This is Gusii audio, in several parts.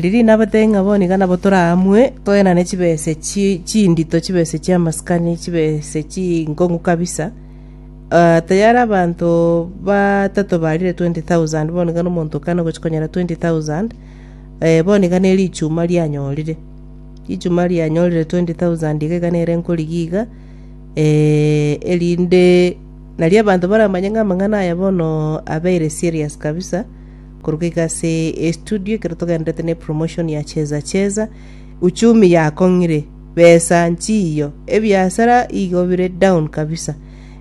riria nabatebie ng'a bono iga nabo toraamue toenane chibese chi chindito chibese chi'amasikani chibese chinkong'u kabisa. Tayari abanto batato barire 20,000 bono iga na omonto okane ogochia konyora 20,000 bono iga ne richuma rianyorire. Richuma rianyorire 20,000 iga iga nere nkorigia iga erinde nario abanto baramanye ng'a amang'ana aya bono abeire serious kabisa korwa iga ase estudio ekero togenderete ne promotion ya cheza cheza, uchumi yakong'ire. Besa nchiiyo, ebiasara igo bire down kabisa.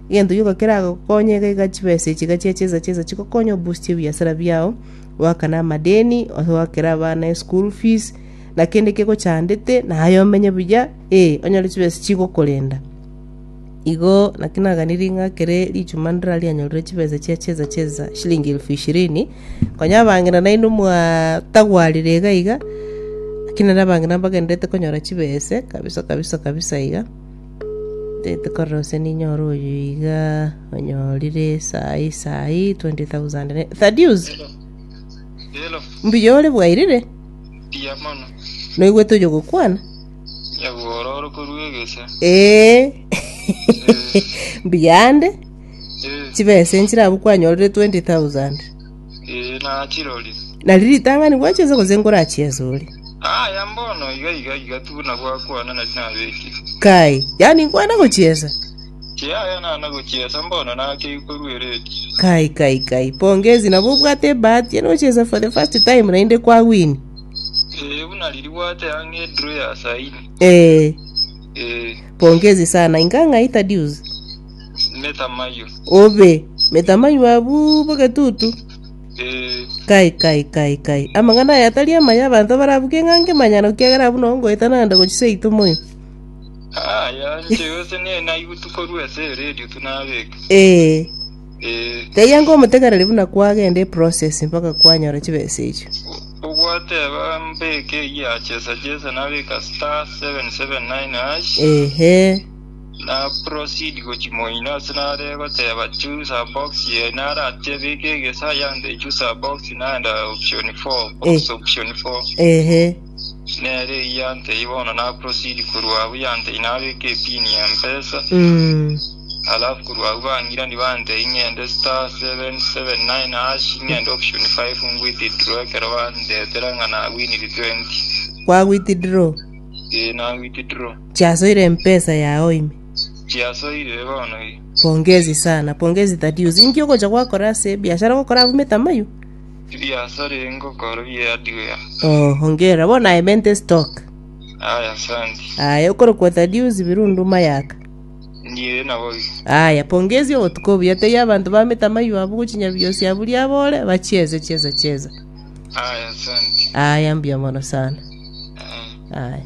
Egento gioka keragokonye iga iga chibesa echi iga chia cheza cheza chigokonye oboost ebiasara biao, oakane amadeni, oakere abana eschool fees, na kende kegochandete naye omenye buya, eh onyore chibesa chigokorenda. Igo naki naganirie ng'a ekere richuma ndira rianyorire chibesa chia cheza cheza shilingi elfu ishirini, konya abang'ina nainwe mwatagwarire iga iga, lakini naende abang'ina mbagendererete konyora chibese kabisa kabisa kabisa iga, ntagete korora gose ninyore oyo iga onyorire saii saii 20,000 ne Thaddeus, Hello. Hello. mbuya ore bwairire? Mbuya mono. Noigwete oyogokwana? Nyabwororo korwa egese. Ee. Mbuyande. Ee. Chibesa nchire abwo kwanyorire 20,000. Ee, nachirorire. Nari ritang'ani gwachiesa gose nkorachiesa ore? Aya mbono iga iga iga tu buna gwakwana nari nabekire. Kai, yaani nkwana gochiesa? Yaya nana gochiesa mbono nakeigwa korwa eredio. Kai kai kai, pongezi nabo obwate ebahati yaani gochiesa for the first time naende kwawini. Ee, buna riria gwateba ng'a edraw ya saini. Ee, Ee, pongezi sana. Inga ng'ai Thaddeus? Metamayo. Obe, Metamayo abwo bogetutu. Ee, Kai kai kai kai. Amang'ana aya tari amaya abanto barabuke ng'a nkemanyano ekiagera abwo noo ngoeta naende gochia seito moyo. aya inche gose ne naigutwe korwa ase eredio tu nabeka. Ee. Ee, Teia ngomotegereri buna kwagenda eprocess mpaka kwanyora chibesa echio. Ogwateba mbeke eyio ya chesa chesa nabeka star 779 hash Ehe. na proceed gochi moino ase nare goteba choose a box ye narache beka egesa yante choose a box naenda option 4 box Eh. option 4 Ehe. nere eyio yantei bono na proceed korwa abwo yantei nabeka epin ya mpesa Mm. Alafu korwa agwo bang'irani bantebia ng'ende star 779 hash ng'ende option 5 ngwithdraw ekero bandetera ng'a nawiniri 20. Kwa withdraw? Ee nawithdraw. Chiasoire mpesa yao ime? Chiasoire bono iga. Pongezi sana, pongezi Thaddeus. Inki ogocha gwakora ase ebiashara ogokora abwo metamayo? Ebiasara ebi ngokora bie hardware. Oh, hongera. Bono aye mente stock. Aya asanti. Aye okorokwa Thaddeus Birundu Mayaka. Ndiye naboigo. Aya, pongezi obotuko obuya, tebia abanto bamete amayio abo gochia nyabiosi abwo riabore, bachieze chieza chieza. Aya, asante. Aya, mbuya mono sana. Aya. Aya.